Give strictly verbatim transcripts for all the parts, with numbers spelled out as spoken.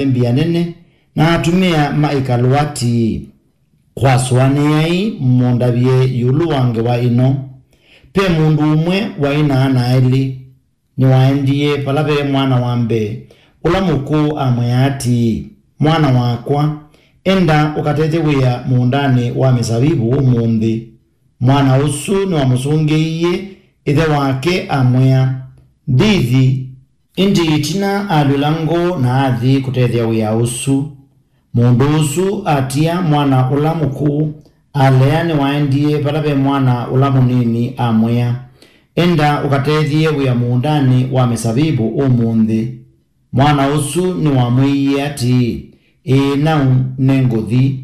mbia nene, na atumĩa ma ĩkalũ atii, "Kwasũanĩai mũndavye ĩũlũ wa ngewa ĩno. Ve mũndũ ũmwe waĩ na ana elĩ. Nĩwaendie vala ve mwana wa mbee, ũla mũkũũ amwĩa atii, 'Mwana wakwa, enda ũkatethye wĩa mũũndanĩ wa mĩsavivũ ũmũnthĩ.' Mwana ũsu nĩwamũsũngĩie ĩthe wake amwĩa, 'Ndithi.' Ĩndĩ ĩtina alw'ĩla ngoo na athi kũtethya wĩa ũsu. Mũndũ ũsu atia mwana ũla mũkũũ, alea nĩwaendie vala ve mwana ũla mũnini amwĩa, 'Enda ũkatethye wĩa mũũndanĩ wa mĩsavivũ ũmũnthĩ.' Mwana ũsu nĩwamwĩie atii, 'Ĩĩ nau, nĩngũthi.'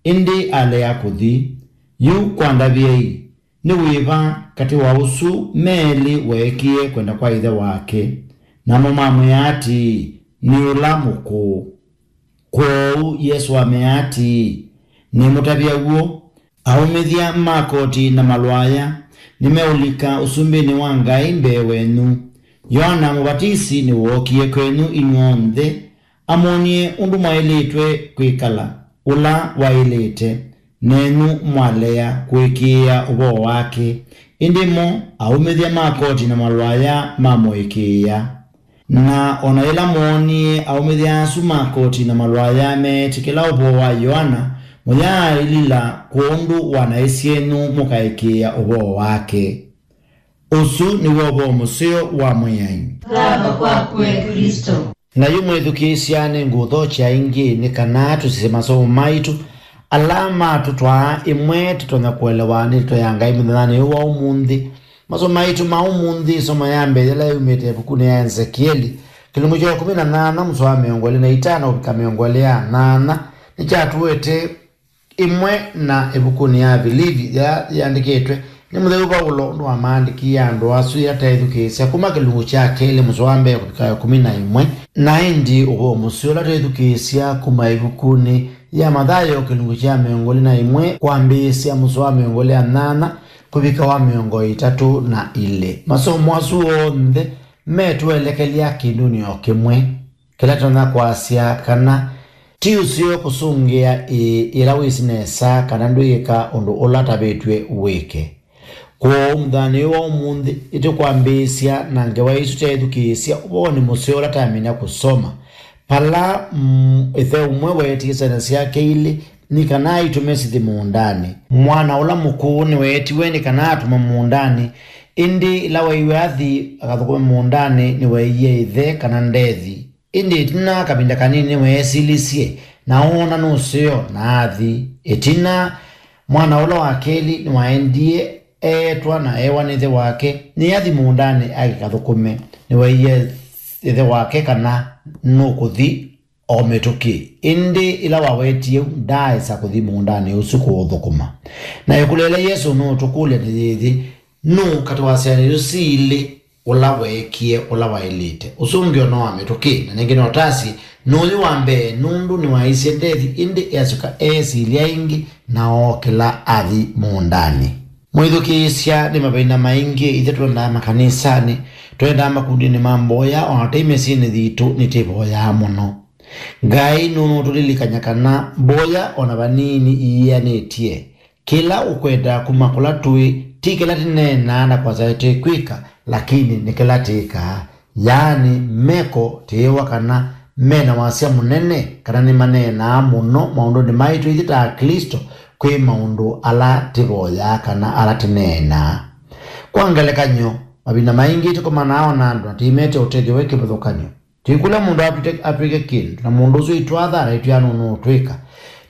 Ĩndĩ alea kũthi. Yu kwandavyei, nĩ wĩva katĩ wa ũsu me elĩ weekie kwenda kwa ĩthe wake? Namo mamwĩa atii, 'Nĩ ũla mũkũũ.'" Kwoou Yesũ amea atii, "Nĩmũtavya w'o, aũmĩthya ma koti na malwaya nĩmeũlika ũsumbĩnĩ wa Ngai mbee wenyu. Yoana Mũvatisi nĩwookie kwenyu inyw'onthe, amwonie ũndũ mwaĩlĩtwe kwĩkala ũla waĩlĩte, nenyu mwalea kũĩkĩĩa ũvoo wake. Ĩndĩ mo aũmĩthya ma koti na malwaya mamũĩkĩĩa. Na o na yĩla mwoonie aũmĩthya asu ma koti na malwaya meetĩkĩla ũvoo wa Yoana, mũyaaĩlila kwondũ wa naĩ syenyu mũkaĩkĩĩa ũvoo wake." Ũsu nĩw'o ũvoo mũseo wa Mwĩai. Thava kwaku, e Klĩsto. Na yu mwĩthukĩĩsya, nĩngũũthokya ĩngĩ nĩ kana tũsisye masomo maitũ ala matũtwaa ĩmwe tũtonya kũelewa nĩ ndeto ya Ngai mũthenyanĩ ũyũ wa ũmũnthĩ. Masomo maitũ ma ũmũnthĩ, ĩsomo ya mbee yĩla yumĩte ĩvukunĩ ya Ezekieli, kĩlungu kya ĩkũmi na nyanya, mũsoa wa mĩongo ĩlĩ na itano kũvika mĩongo ĩlĩ ya nyanya, nĩkyatũete ĩmwe na ĩvukunĩ ya Vilivi, ya yĩandĩkĩtwe nĩ mũtheu Vaulo ũndũ wamaandĩkie andũ asu yĩla teethukĩĩsya kuma kĩlungu kya kelĩ mũsoa wa mbee kũvika ĩkũmi na ĩmwe. Na ĩndĩ ũvoo mũseo ũla twĩthukĩĩsya kuma ĩvukunĩ ya Mathayo kĩlungu kya mĩongo ĩlĩ na ĩmwe kwambĩĩsya mũsoa wa mĩongo ĩlĩ na nyanya kũvika wa mĩongo ĩtatũ na ilĩ. Masomo asu onthe metũelekelya kĩndũnĩ o kĩmwe kĩla tũtonya kwasya kana ti ũseo kũsũngĩa ĩĩ yĩla wĩsĩ nesa kana ndwĩĩka ũndũ ũla ũtavĩtw'e wĩke. Kwoou mũthenyanĩ ũyũ wa ũmũnthĩ, nĩtũkwambĩĩsya na ngewa ĩsu teethukĩĩsya ũvoonĩ mũseo ũla twamina kũsoma, vala, mm, ĩthe ũmwe weetie syana syake ilĩ nĩ kana aitũme sithi mũũndanĩ. Mwana ũla mũkũũ nĩweetiwe nĩ kana atũmwe mũũndanĩ, ĩndĩ ĩla waiwe athi akathũkũme mũũndanĩ, nĩweeie ĩthe kana ndethi. Ĩndĩ ĩtina kavinda kanini nĩweesilisye, na oona nũseo, na athi. Ĩtina, mwana ũla wa kelĩ nĩwaendie eetwa na eewa nĩ ĩthe wake, nĩathi mũũndanĩ akĩkathũkũme. Nĩweeie ĩthe wake kana nũkũthi o mĩtũkĩ. Ĩndĩ ĩla wawetie ũu, ndaaĩsa kũthi mũũndanĩ ũsu kũũthũkũma. Na ĩkũlyo ĩla Yesũ nũũtũkũlya nĩ yĩĩ, nũũ katĩ wa syana isu syĩ ilĩ ũla weekie ũla waĩlĩte? Ũsu ũngĩ o no wa mĩtũkĩ, na nĩngĩ no tasye, nũyũ wa mbee, nũndũ nĩwaisye ndethi, ĩndĩ easyoka eesilya ĩngĩ, na ookĩla athi mũũndanĩ. Mwĩthukĩĩsya, nĩ mavinda maingĩ ithyĩ twendaa makanisanĩ, twendaa makundinĩ ma mboya, o na tei mĩsyĩnĩ yitũ nĩtĩvoyaa mũno. Ngai nũnũtũlilikany'a kana mboya o na vanini iĩanĩtye. Kĩla ũkwenda kuma kũla tũĩ, ti kĩla tĩneenaa na kwasya tĩkwĩka, lakini nĩ kĩla tĩkaa. Yaani, meko tĩĩwa kana me na wasya mũnene, kana nĩmaneenaa mũno maũndũnĩ maitũ ithyĩ ta Aklĩsto kwĩ maũndũ ala tĩvoyaa kana ala tĩneenaa. Kwa ngelekany'o, mavinda maingĩ tũkomanaa o na andũ na tũimete ũtethyo wĩ kĩvathũkany'o. Tũikũlya mũndũ atwĩke, atwĩke kĩndũ, na mũndũ ũsu aitwaa thara aitwĩa nũnũũtwĩka.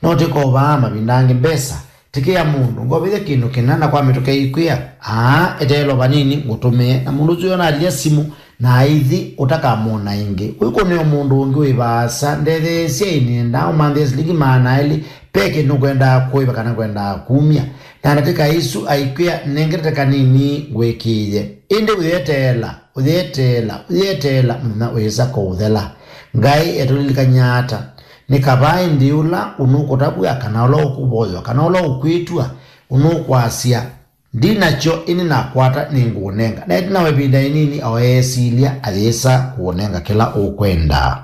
No tĩkovaa mavinda angĩ mbesa, tĩkĩa mũndũ, ngovĩthya kĩndũ kĩna, na kwa mĩtũkĩ aikwĩa, "Aa, eteela o vanini ngũtũmĩe." Na mũndũ ũsu ona alya simũ, na aithi ũtakamwona ĩngĩ. Ũikũnĩa mũndũ ũngĩ wĩ vaasa, ndetheesya ĩnĩenda, ũmanthĩe silingi maana elĩ, ve kĩndũ ngwendaa kũĩva kana ngwendaa kumya. Na ndatĩka isu aikwĩa, "Nengete kanini ngwĩkĩĩe." Ĩndĩ ũyeteela, ũyeteela, ũyeteela mũthenya ũyĩsa kũũthela. Ngai etũlilikany'a ata? Nĩ kavaa ĩndĩ ũla ũnũkũtavw'a, kana ũla ũkũvoywa, kana ũla ũkwĩtw'a, ũnũkwasya, "Ndi nakyo, ĩndĩ nakwata, nĩngũũnenga." Na ĩtina wa ĩvinda ĩnini, o eesilya, ayĩsa kũũnenga kĩla ũkwenda.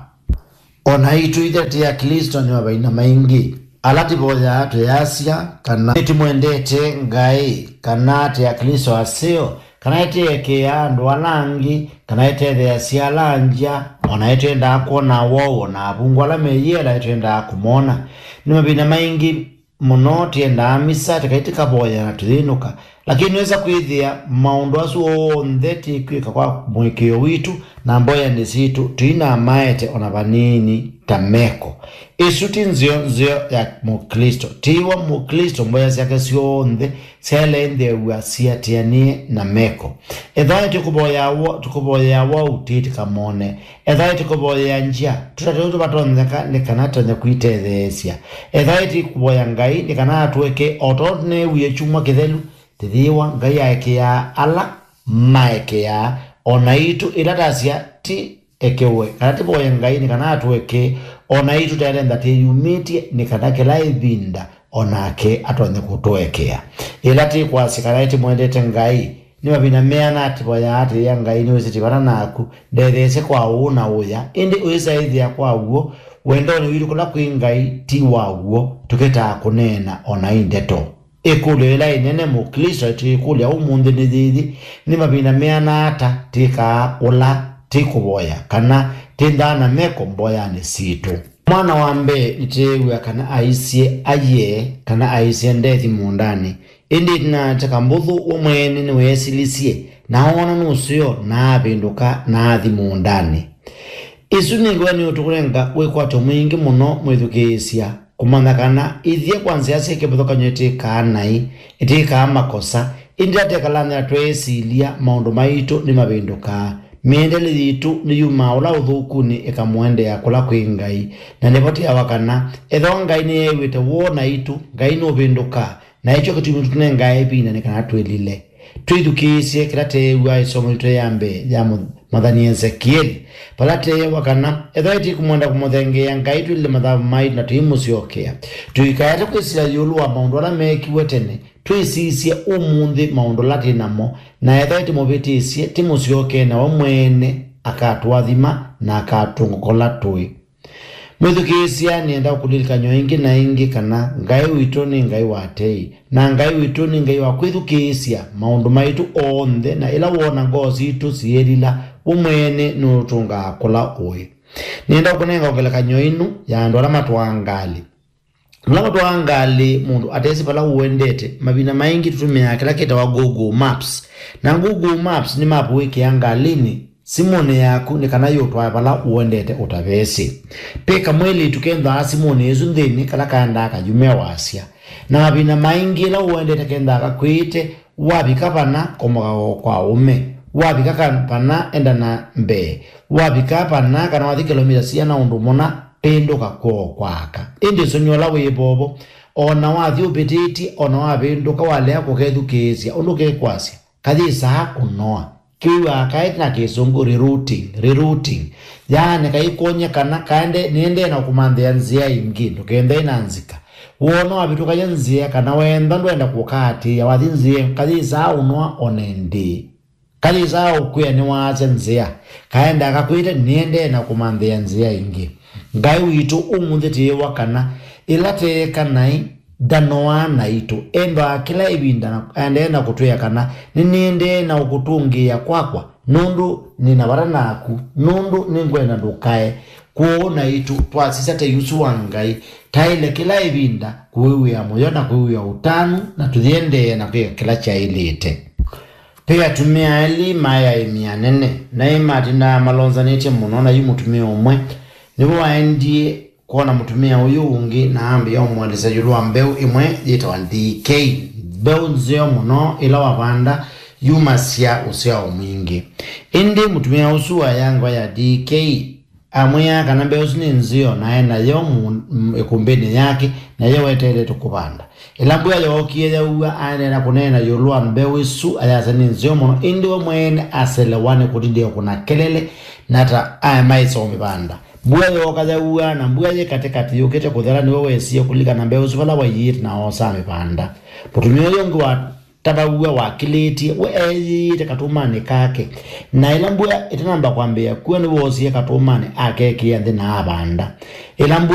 O naitũ ithyĩ tĩ Aklĩsto nĩ mavinda maingĩ ala tũvoyaa tũyasya kana nĩtũmwendete Ngai, kana tĩ Aklĩsto aseo, kana ĩtĩekĩaa andũ ala angĩ, kana ĩtetheeasya ala angya, o na ĩtwendaa kwona woo, o na avungũ ala meyĩela ĩtwendaa kũmona. Nĩ mavinda maingĩ mũno tĩendaa misa, tĩkai tĩkavoya na tũyĩnũka. Lakini nĩwĩsa kwĩthĩa maũndũ asu onthe tĩkwĩka kwa mũĩkĩĩo witũ na mboyanĩ sitũ tũinamaete o na vanini ta meko. Ĩsu ti nzeo nzeo ya Mũklĩsto. Tĩĩwa Mũklĩsto, mboya syake syonthe syaĩle nthew'a siatĩanĩe na meko. Ethĩwa tũkũvoya wo-, tũkũvoyea wau, tĩtĩkamone. Ethĩwa tũkũvoyea ngya, tũtatĩwe tũvatonyeka nĩ kana tũtonye kwĩtetheesya. Ethĩwa tũkũvoya Ngai nĩ kana atũekee o tondũ tũneewie kyumwa kĩthelu, tĩthĩĩwa Ngai aekĩaa ala maekĩaa, o naitũ ĩla tasya ti ekewe, kana tũvoye Ngai nĩ kana atũekee, o naitũ tũtaĩle nza twĩyumĩtye nĩ kana kĩla ĩvinda o nake atonye kũtũekea. Ĩla tũkwasya kana nĩtũmwendete Ngai, nĩ mavinda meana tũvoyaa tũyĩa Ngai nĩwĩsĩ twĩ vata naku, ndetheesye kwa ũũ na ũya, ĩndĩ ũyĩsaĩthĩa kwa w'o, wendonĩ witũ kũla kwĩ Ngai ti wa w'o, tũkĩtaa kũneena o na i ndeto. Ĩkũlyo ĩla ĩnene Mũklĩsto tũikũlya ũmũnthĩ nĩ yĩĩ, nĩ mavinda meana ata twĩkaa ũla tũkũvoya kana twĩnthaa na meko mboyanĩ sitũ? Mwana wa mbee nĩtweew'a kana aisye, aiee, kana aisye ndethi mũũndanĩ. Ĩndĩ ĩtina wa ĩteka mbũthũ, we mwene nĩweesilisye na oona nũseo na avĩndũka na athi mũũndanĩ. Ĩsu nĩ ngewa nĩũtũkũnenga wĩkwatyo mwingĩ mũno mwĩthukĩĩsya, kũmanya kana ithyĩ kwa nzĩa syĩ kĩvathũkany'o ĩtĩkaa naĩ, ĩtĩkaa makosa, ĩndĩ ĩla twĩkalany'a tweesilya maũndũ maitũ nĩmavĩndũkaa. Mĩendele yitũ nĩyumaa ũla ũthũkunĩ ĩkamũendea kũla kwĩ Ngai. Na nĩvo twĩawa kana ethĩwa Ngai nĩeew'ĩte woo naitũ, Ngai nũvĩndũkaa, na nĩkyo kĩtumi tũtũnengae ĩvinda nĩ kana twĩlile. Twĩthukĩĩsye kĩla tweew'aa ĩsomo yitũ ya mbee ya mũthaani Esekieli, vala tweewa kana ethĩwa tũikũmwenda kũmũthengeea Ngai, twĩlile mathavu maitũ na tũimũsyokea. Tũikaete kwĩsĩla ĩũlũ wa maũndũ ala meekiwe tene, twĩsisye ũmũnthĩ maũndũ ala twĩ namo, na ethĩwa tũmũvĩtĩsye, tũmũsyokee, na we mwene akatũathima na akatũngũka ũla tũĩ. Mwĩthukĩĩsya, nĩenda ũkũlilikany'a ĩngĩ na ĩngĩ kana Ngai witũ nĩ Ngai wa tei, na Ngai witũ nĩ Ngai wa kwĩthukĩĩsya maũndũ maitũ onthe, na ĩla woona ngoo sitũ siĩlila, we mwene nũtũngaa kũla ũĩ. Nĩenda ũkũnenga ngelekany'o ĩno ya andũ ala matwaa ngalĩ. Vala ũtwaa ngalĩ mũndũ atesĩ vala ũendete, mavinda maingĩ tũtũmĩaa kĩla kĩtawa Google Maps. Na Google Maps nĩ mapu wĩkĩaa ngalĩnĩ simũnĩ yaku nĩ kana yĩũtwae vala ũendete ũtavesĩ. Ve kamwĩlĩtu kenthaa simũnĩ ĩsu nthĩnĩ kala kaendaa kayume wasya. Na mavinda maingĩ ĩla ũendete kenthaa kakwĩte, wavika vana, komoka o kwa ũme. Wavika ka-, vana, enda na mbee. Wavika vana, kana wathi kĩlomita siana ũndũ mũna, pĩndũka kwoo kwa aka. Ĩndĩ ũsũngĩo ũla wĩ vovo, o na wathi ũvĩtĩtye, o na wavĩndũka, walea kũkethukĩĩsya ũndũ kekwasya, kayĩsaa kũnoa. Kĩw'aa kaĩ na Kĩsũngũ rerouting, rerouting. Yaani kaikwony'a kana kaende, nĩendee na kũmanthĩa nzĩa ĩngĩ, ndũkenthee na nzika. Woona wavĩtũkany'a nzĩa kana weenda ndwenda kũkaatĩĩa, wathi nzĩa, kayĩsaa ũnoa o na ĩndĩĩ. Kayĩsaa ũkwĩa nĩwaasya nzĩa, kaendaa kakwĩte nĩendee na kũmanthĩa nzĩa ĩngĩ. Ngai witũ ũmũnthĩ twĩĩwa kana ĩla teeka naĩ ndanoaa naitũ. Endaa kĩla ĩvinda na aendee na kũtwĩa kana, nĩnĩendee na ũkũtũngĩĩa kwakwa, nũndũ nĩ na vata naku, nũndũ nĩngwenda ndũkae. Kwoou naitũ twasisya tei ũsu wa Ngai, taĩle kĩla ĩvinda kũwĩw'ĩa mũyo na kwĩw'ĩa ũtanu, na tũyĩendeea na kwĩka kĩla kyaĩlĩte. Ve atumĩa elĩ maĩ aĩmi anene, naĩ matindaa malonzanĩtye mũno, na yu mũtumĩa ũmwe nĩvo waendie kwona mũtumĩa ũyũ ũngĩ na ambĩĩa ũmũelesya ĩũlũ wa mbeũ ĩmwe yĩtawa D K. Mbeũ nzeo mũno ĩla wavanda yumasya ũsyao mwingĩ. Ĩndĩ mũtumĩa ũsu waya ngewa ya D K. Amwĩaa kana mbeũ ĩsu nĩ nzeo, na e nayo mu-, m-, ĩkũmbĩnĩ yake, na yo weteeletwe kũvanda. Ĩla mbua yookie yaua, aendee na kũneena ĩũlũ wa mbeũ ĩsu, ayasya nĩ nzeo mũno, ĩndĩ we mwene aselewa nĩ kũtindĩa kũna kelele, na ta aĩ maĩsa ũmĩvanda. Mbua yooka yaua, na mbua yĩ katĩkatĩ yũkĩte kũthela, nĩwe wesie kũlikana mbeũ ĩsu vala waiĩte na oosa amĩvanda. Mũtumĩa ũyũ ũngĩ wa ta vau we wakĩlĩtye, we eeyĩĩte katũmanĩ kake. Na ĩla mbua ĩtanamba kwambĩĩa kua, nĩwoosie katũmanĩ akekĩa nthĩ na avanda. Ĩla mbua